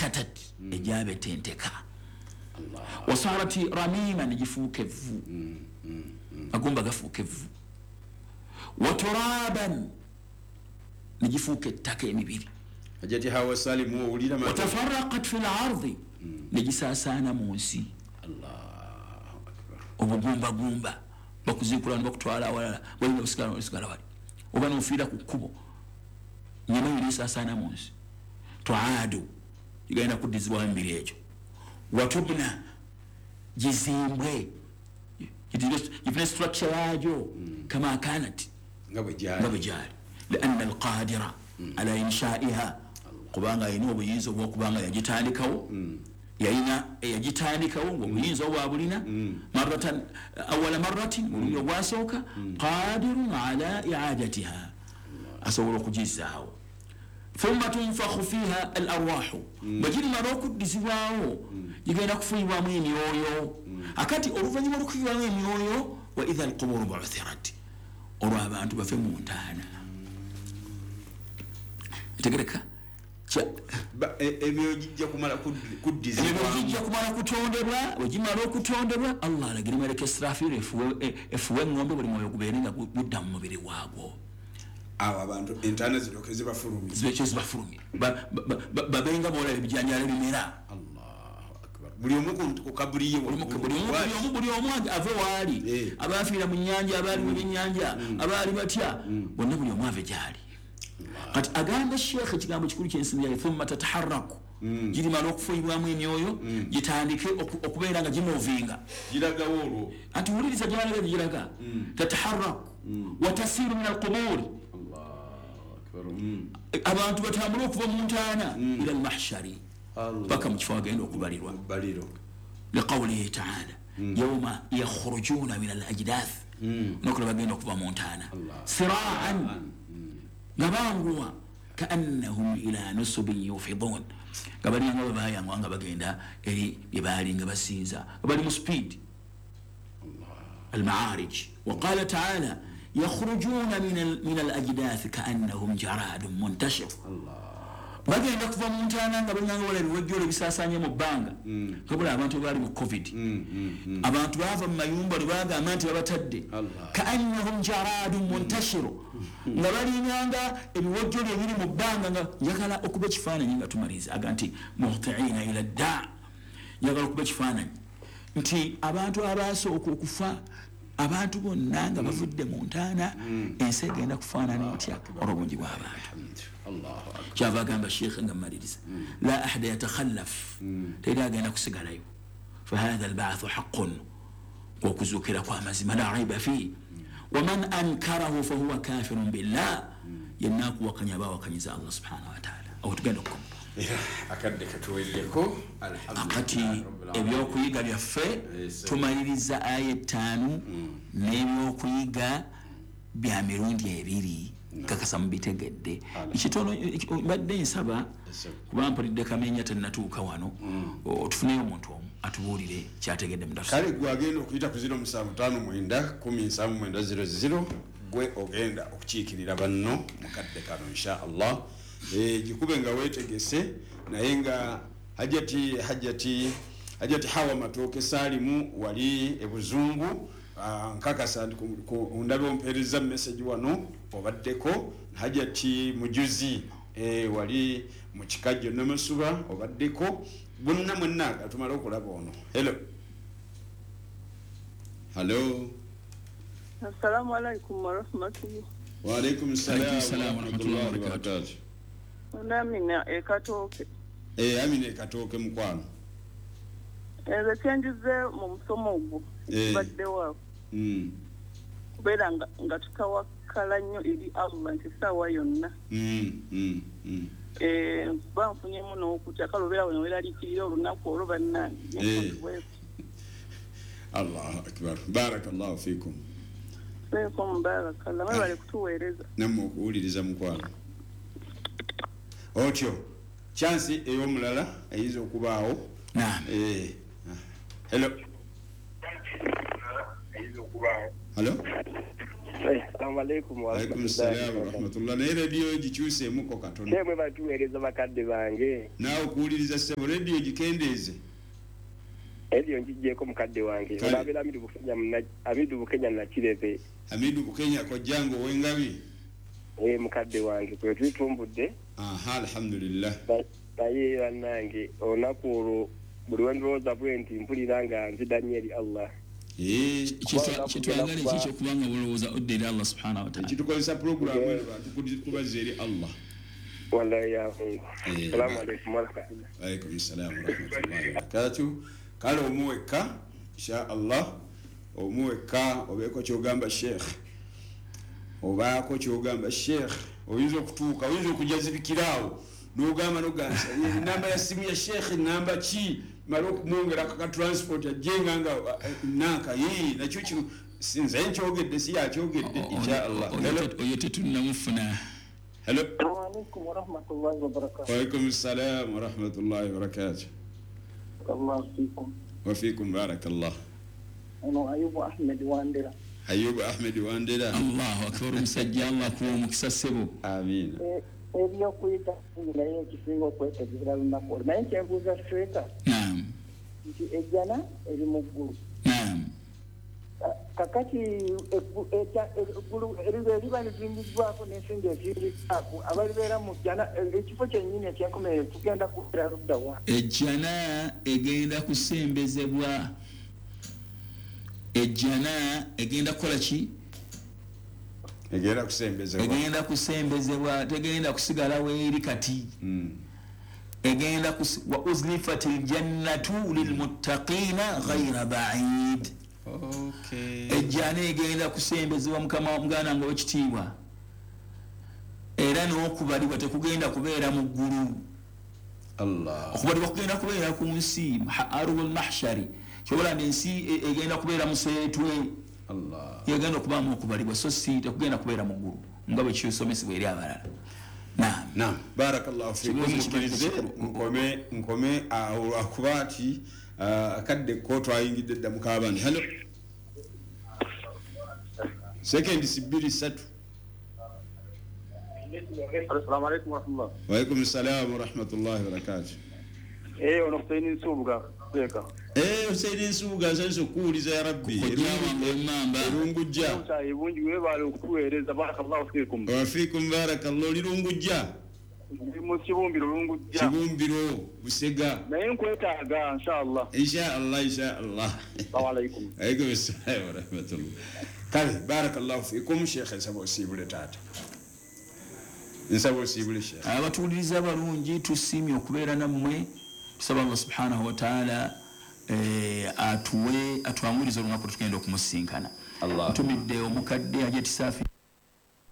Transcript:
Tafatatat, egyabetenteka. Wasarat ramima, negifuuka evvu, magumba gafuuka evvu. Waturaban, negifuuka ettaka emibiri. Hajati Hawa Salimu, owulira? Watafaraqat fi lardi, negisaasaana mu nsi. Allahu akbar. Obugumbagumba bakuzikula nibakutwala awalala, walina osigala, osigala wali oba nofiira ku kkubo, nyama yona esaasaana mu nsi. Tuaadu, gigenda kuddizibwawo emibiri egyo. Watubna, gizimbwe, gifune structure yaagyo, kama kanat, nga bwe nga gyali. Bwe gyali, lianna alqadira ala inshaiha, kubanga alina obuyinza obwokubanga yagitandikawo, yalina yagitandikawo ngaobuyinza obwa bulina maratan, awala maratin, mulundi ogwasooka, qadirun ala iadatiha, asobola okugizaawo. Thumma tunfakhu fiha al arwahu, bwe girimala okuddizibwawo gigenda kufuuyibwamu emyoyo. Akati oluvanyuma lwokufuyibwamu emyoyo, wa idha alquburu buuthirat, olwo abantu bafe mu ntaana. Tegereka. Emyoyo gijja kumala Emyoyo kuddizibwamu. Gijja kumala kutondebwa. Bwe gimala okutondebwa, Allah alagire maleka Israfil efuwe eŋŋombe, buli mwoyo gubeere nga gudda mu mubiri waagwo. Awo abantu entaana ziryoke zibafulumye. Zibekyo zibafulumye, babenga boolaba ebijanjalo ebimera. Allahu akbar, buli omu ku kaburi ye. Buli omu ave waali. Abafiira mu nyanja, abaali mu byenyanja, abaali batya bonna, buli omu ave gyali. Kati agamba sheekh ekigambo kikulu kyensimyayo, thumma tataharaku, girimala okufuuyibwamu emyoyo, gitandike okubeera nga gimovinga. Giragawo olwo? Anti wuliriza gyalaga, giraga tataharaku watasiru min alquburi. Allahu akbar. Abantu batambule okuva mu ntaana ila almahshari, paka mu kifo agenda okubalirwa. Baliro. Liqaulihi taala, yauma yakhrujuna min alajdath, nokula bagenda okuva mu ntaana, siraan, nga banguwa, kaannahum ila nusubin yufidun, nga balinga babayangwa nga bagenda eri byebaali nga basinza, nga bali mu speed. Almaarij. Waqala taala, yakhrujuna min alajdath kaannahum jaradun muntashir, bagenda kuva mu ntaana nga balinganga wala ebiwejjolo ebisasanye mu bbanga. Kabula abantu baali mu COVID, abantu bava mu mayumba lwe bagamba nti babatadde. Allah. Kaannahum jaradun muntashiru, nga balinganga ebiwejjolo ebiri mu bbanga. Nga njagala okuba ekifaananyi nga tumaliriza, aga nti muhtiina ila dda, njagala okuba ekifaananyi nti abantu abasooka okufa, abantu bonna nga bavudde mu ntaana, ensi egenda kufaanana etya olwobungi bw'abantu? Allahu akbar. Kyava agamba sheekhe nga mmaliriza, la ahada yatakhallaf, teri agenda kusigalayo. Fahatha albathu haqun, kwokuzuukira kwamazima, la raiba fih, waman ankarahu fahuwa kafirun billah, yenna akuwakanya aba awakanyiza Allah subhanahu wataala. Awo tugenda okukoma. Era akadde katuweerereko. Akati ebyokuyiga byaffe, tumaliriza aya 5 n'ebyokuyiga bya mirundi ebiri. Kakasa mubitegedde kitono. Mbadde nsaba, kuba mpulidde kamenya tenatuuka wano, tufuneyo omuntu omu atubuulire kyategedde mu tafsiri. Kale gwe agenda okuyita ku 0759 107900, gwe ogenda okukiikirira banno mukadde kano insha Allah. Gikube nga weetegese. Naye nga Hajati Hawa Matooke Saalimu wali ebuzungu. Nkakasa nti ndabe ompeereza message wano obaddeko. Hajati Mujuzi, wali mu Kikajjo Namasuba obaddeko. Bonna mwenna katumale okulaba ono. Hello, hallo. Assalamu alaikum warahmatullah. Waalaikum Alaikum salam salam warahmatullahi warahmatullahi wabarakatuh. Amina Ekatooke. Amina Ekatooke, mukwano. Nze kyenjize mu musomo ogwo ekibaddewo awo, kubeera nga tutawakkala nnyo eri Allah nti essaawa yonna. Kuba nfunyemu n'okutya, kale obeera wano weeraliikirira olunaku olwo, bannange. Allahu akbar, barakallahu fikum. Fiikum barakallah, mwebale kutuweereza. Nammwe okuwuliriza, mukwano. Otyo chansi ey'omulala eyinza okubaawo. Naam. Hello, hello. Assalamu alaikum wa Alaikum rahmatullahi salaam wa rahmatullah. Naye rediyo gikyuseemuko katono. Kyemwe batuweereza bakadde bange. Naawe okuwuliriza ssebo, rediyo gikendeeze. Rediyo ngigyeko mukadde wange. Kale. Olabeera Amidu Bukenya Nakirebe. Hamidu Bukenya kojjange ow'engabi. Mukadde wange kwe tutumbudde. Aha, alhamdulillah. Naye bannange olunaku olwo buli lwe ndowooza bwe nti mpulira nga nzida nnyo eri Allah. Kyetwagala eki ekyokubanga bulowooza odda eri Allah subhanahu wa ta'ala. Ekitukozesa puroguramu eno bantu kubazza eri Allah. Wallahi ya Mungu. Assalamu alaikum wa rahmatullah. Alaikum salaam wa rahmatullahi wa barakatuh. Kale omuweka insha Allah, omuweka obeeko kyogamba sheikh, obaako kyogamba sheikh, oyinza okutuuka, oyinza okujazibikiraawo n'ogamba nogansa enamba ya simu ya sheikh namba ki, mala okumwongera ka transport ajjenga nga nanka nakyo kino nze nkyogedde si yakyogedde insha Allah. Oyo tetunnamufuna. Hello. Assalamu alaikum wa rahmatullahi wa barakatuh. Wa alaikum salam wa rahmatullahi wa barakatuh. Allah fikum. Wa fikum barakallah. Ono Ayubu Ahmed Wandera. Ayubu Ahmed Wandera. Allahu akbar, musajja Allah kuwa omukisa ssebo. Amiina. Ebyokuyita naye ekisinga okwetegerera lunaku olwo. Naye nkyenbuuza Sheikh. Naam. Nti ejjana eri mu ggulu. Naam. Kakati eggulu eriba lizimbiddwako n'ensingo ezimbiddwako abalibeera mu jjana ekifo kyennyini ekyenkomerero kigenda kubeera ludda wa? Ejjana egenda kusembezebwa. Ejjana egenda kukola ki? Egenda kusembezebwa. Egenda kusembezebwa, tegenda kusigala weeri kati. Egenda wa uzlifatil jannatu lilmuttaqina ghayra ba'id. Okay. Ejjana egenda kusembezebwa mukama muganda nga wekitiibwa. Era n'okubalibwa tekugenda kubeera mu ggulu. Allah. Okubalibwa kugenda kubeera ku nsi, arul mahshari. Kyobola ensi egenda kubeera museetwe. Allah. Yegenda okubaamu okubalibwa so si tekugenda kubeera mu ggulu nga bwe kisomesebwa eri abalala. Naam. Naam. Barakallahu fikum. Mukirize nkome awo lwakuba nti akadde ko twayingidde dda mu kaabandi. Hello. Second sibiri satu. Assalamu alaikum wa rahmatullah. Wa alaikum salam wa rahmatullahi wa barakatuh. Ono Hussein Nsubuga Sheikh. Hussein Nsubuga nsanze okuwuliza ya Rabbi. Erungujja. Ebungi weebale okutuweereza, barakallahu fikum. Wa fikum barakallahu. Lirungujja. Ndi mu Kibumbiro Lungujja. Kibumbiro Busega. Naye nkwetaaga inshallah. Inshallah inshallah. Assalamu alaikum. Alaikum assalam wa rahmatullah. Kale barakallahu fikum Sheikh, nsaba osiibule taata. Nsaba osiibule Sheikh. Abatuwuliriza abalungi tusiimye okubeera nammwe. Tusaba Allah subhanahu wa ta'ala atuwe atwangurize olunaku tugenda okumusinkana. Ntumidde omukadde Hajati Safi.